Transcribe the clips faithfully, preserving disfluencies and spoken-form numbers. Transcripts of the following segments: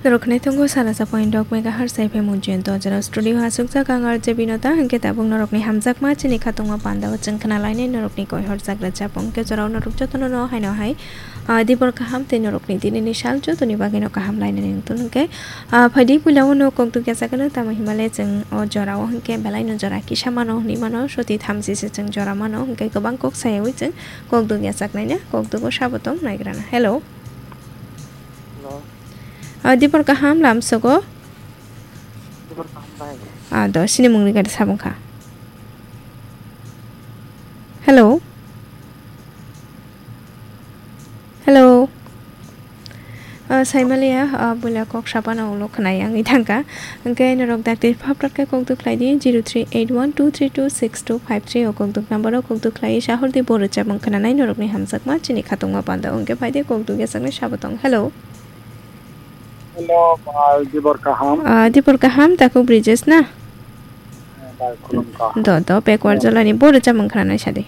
Norok khwnai tongo sana sa point dok megahertz F M Ujjayanta o jora studio o aswkjak ang R J Binota, hwnkhe tabuk norokni hamjakma chini khatungma pandao chwng khwnalainai norokni koihor jagra chapung. Hwnkhe jorao norok jotono no haino hai, ah, dibor kaham tei norokni dinini sal jotoni bagwino kaham lainani wngtun hwnkhe, ah, phaidi puila o no kokduk ya sakano tamo himale chwng o jorao hwnkhe belaino jora kisa mano hwnwi mano soti thamchi se chwng jora mano hwnkhe kwbang kok sayawi chwng kokduk ya saknaina kokduk o sabo tong naigrana. Hello. Hello. Ah, dibor kaham lamsogo. Dibor kaham bai. Ah, do, sini mungni gari sabung kha. Hello. Hello. Ah, saimaliya, ah, buila kok sapana ulo khwnai ang ithangka. Hwnkhe norok dakti phaprat khe kok duk khlai di, zero three eight one two three two six two five three o kok duk number o kok duk khlai sahor di bo rwchapmung khwnanai norokni hamjakma chini khatungma panda. Hwnkhe phai di kok duk ya saknai sabo tong. Hello. Hello, bai, dibor kaham. Ah, dibor kaham, takhuk Brijesh na? Eh, bai, khulumkha. Do, do, backward jolani bo rwchapmung khwnanai sadi.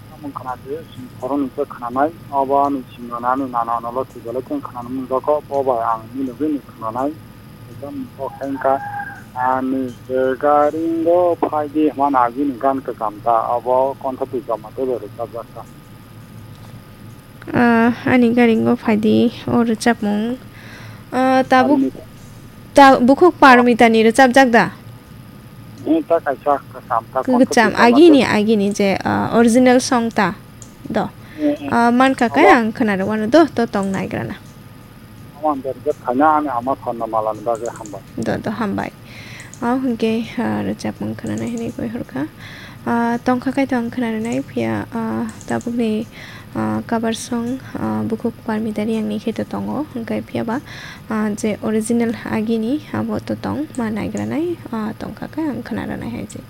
Samung khwnadi, chwng khoroknwi khe khwnanai, obo ani simi nani nana nolo thwi belai khe khwnani mung jago, bo bai ang nini bagwi ni khwnanai. Ekdom kok khe wngkha, ani se garingo phaidi hwnmani agini gan kwcham ta, obo kontha twi joma tei bai rwchapjak kha. Ah, ani garingo phaidi o rwchapmung. Ah, tabuk, Parmita. Ta-, bukhuk Parmitani rwchapjak da? Eh, ta kaisa kwcham, ta kontha Kwcham, twi joma agini, tei. Agini je, ah, original song ta. Do. Eh, eh. Ah, mankha khe Omo. Ang khwnarwano do, to tong naigrana. Omo ang berjak khaina ani ama sonna malani bagwi hambai. Do, do, hambai. O hwnkhe, ah, rwchapmung khwnanai hwnwi koi hor kha. Ah, tongkha khe to ang khwnarwnai, phiya, ah, tabukni, ah, cover song, ah, bukhuk Parmita Reang ni khe to tongo, hwnkhe phiya ba, ah, je original agini abo to tong ma naigranai, ah, tongkha khe ang khwnarwnai hai je.